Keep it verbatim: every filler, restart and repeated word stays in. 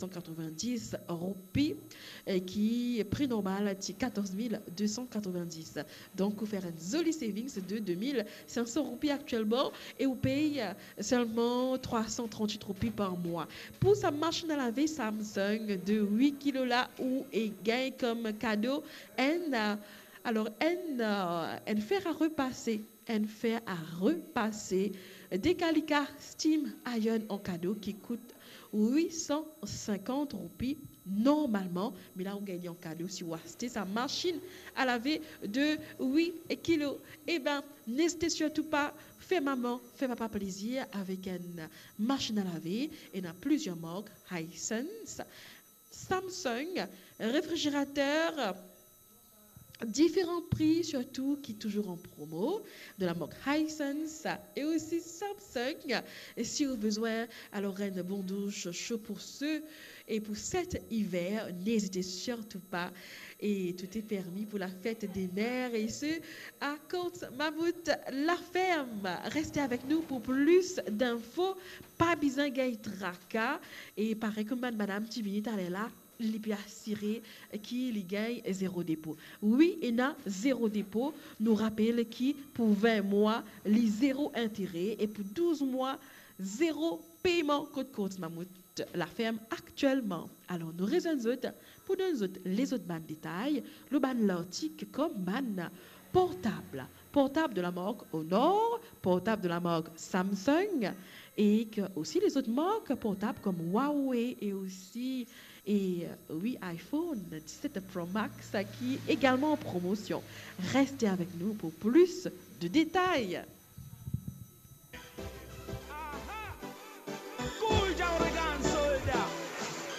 san katrovin-dis roupi, eh, ki pri normal ti katorz mil de san katrovin-dis. Donk, ou fer enn zoli savings de de mil sink san roupi aktielman e ou pey, eh, selman trwa san trant-wit roupi par mwa. Pou sa masinn a lave Samsung de wit kilo la, ou e gagn kom kado enn, eh, alor enn, eh, enn fer a repase, enn fer a repase Decalica Steam Iron an kado ki kout wit san sinkant roupi normalman, me la ou gagn li an kado si ou aste sa masinn a lave de wit kilo. Eben, n'ezite sirtou pa, fer mama, fer papa plezir avek enn masinn a lave. Ena plizier mark, Hisense, Samsung, refrigerater, diferan pri sirtou ki touzour an promo, de la mark Hisense e osi Samsung. E si ou bizin alor enn bon douch so pou se e pou set iver, n'ezite sirtou pa. E tout est permis pour la fête des mères, e se a Courts Mammouth La Ferme. Reste avek nou pou plis zinfo. Pa bizin gagn traka. E parey kouma bann madam ti vini taler la, li pe asire ki li gagn zero depo. Wi, ena zero depo. Nou rapel ki pou vin mwa, li zero intere, e pou douz mwa, zero peyman kot Courts Mammouth La Ferme aktielman. Alor, nou rezwenn zot pou donn zot lezot bann detay lor bann lartik kom bann portab. Portab de la mark Honor, portab de la mark Samsung, e osi lezot mark portab kom Huawei e osi, e, wi, iPhone diset Pro Max ki egalman an promosion. Reste avek nou pou plis de detay.